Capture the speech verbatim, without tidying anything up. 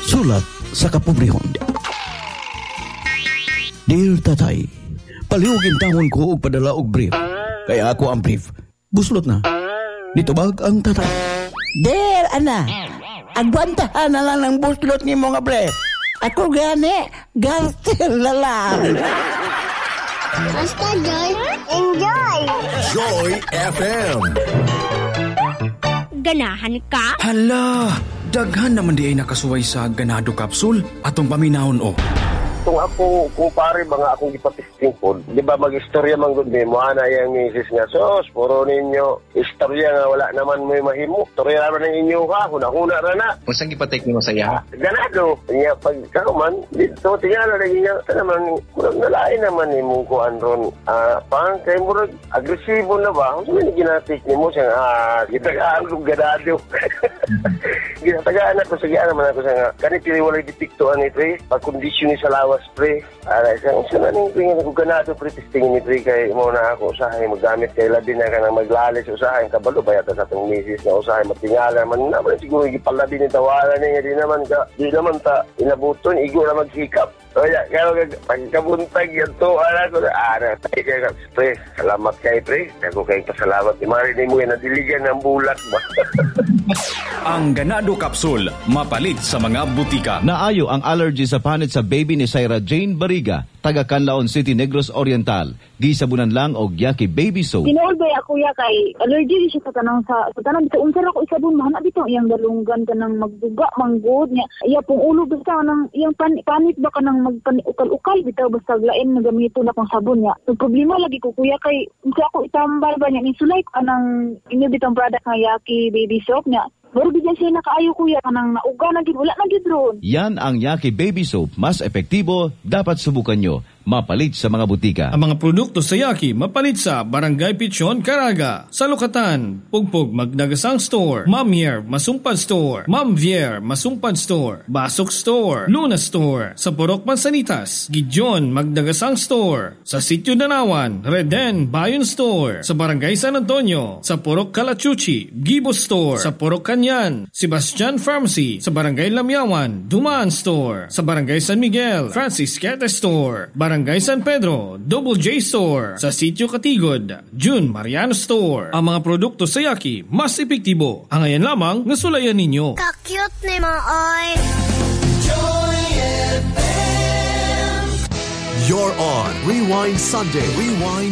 Sulat sa kapobrehon. Dear Tatay, palihugin tawon ko og padala og brief. Kaya ako ang brief. Buslot na. Nitubag ang tatay. Dear ana, agwantahan na lang ng buslot ni mga brief. Ako gani, garter na lang. Basta Joy, enjoy! Joy F M. Ganahan ka? Hala, daghan naman di ay nakasuway sa Ganado Capsule. Atong paminahon o. Kung ako, kung pare mga akong gipatesting pod, di ba mag-istorya man gud mo ana yang misis nga, "Sos, puro ninyo istorya nga wala naman mo'y mahimo. Istorya naman ng inyo ha, huna-huna ra na." Unsang gipatake nimo sa iya? Ganado. Nya pag man, dito tingala lagi nga ta naman, murag nalain naman nimo kuan ron. Ah, pang kay murag agresibo na ba? Unsa man ginatik nimo siya, ah, gitagaan kog ganado. Ginatagaan ako sa naman ako sa nga. Kani pili walay depekto ani, pre. Pag kondisyon ni sa lawas, pre. Ara isang unsa na ning pre nga ko ganado, pre, testing ni pre kay mo na ako usahay maggamit kay labi na ka nang maglalis usahay kabalo ba yata sa atong misis nga usahay matingala man naman siguro gipalabi ni tawala ni nga di naman ka di naman ta inabuton igo na maghikap. Kaya, kaya pagkabuntag yan to, ara ko, ara, tayo kaya, pre, salamat kay pre, ako kay pasalamat, ni Mari ni mo yan, nadiligan ng bulak ba? Ang Ganado Capsule, mapalit sa mga butika. Naayo ang allergy sa panit sa baby ni Syra Jane Bariga, taga Canlaon City, Negros Oriental. Gisabunan lang og Yaki Baby Soap. Tinuod ba ako ya kay allergy siya sa tanang sa, sa tanang bitaw unsa ra ko isabon mahana bitaw iyang dalunggan kanang magduga manggod niya iya pong ulo basta kanang iyang pan, panit ba kanang magpan ukal-ukal bitaw basta lain na gamiton akong sabon niya. So problema lagi ko, kuya, kay unsa ako itambal ba niya ni sulay kanang inyo bitong product nga Yaki Baby Soap niya. Pero bigyan siya nakaayo, kuya, kanang nauga na gid wala na gid ron. Yan ang Yaki Baby Soap. Mas epektibo, dapat subukan nyo. Mapalit sa mga butika. Ang mga produkto sa Yaki mapalit sa Barangay Pichon, Caraga, sa Lukatan, Pugpog Magdagasang Store, Mamier Masumpad Store, Mamvier Masumpad Store, Basok Store, Luna Store, sa Purok Mansanitas, Gideon Magdagasang Store, sa Sitio Danawan, Reden Bayon Store, sa Barangay San Antonio, sa Purok Kalachuchi, Gibo Store, sa Purok Kanyan, Sebastian Pharmacy, sa Barangay Lamiawan, Dumaan Store, sa Barangay San Miguel, Francis Quete Store, Barangay San Pedro, Double J Store, sa Sitio Katigod, June Mariano Store. Ang mga produkto sa Yaki, mas epektibo. Angayan lamang nga sulayan ninyo. Ka-cute ni mo, oy. Joy F M. You're on Rewind Sunday. Rewind.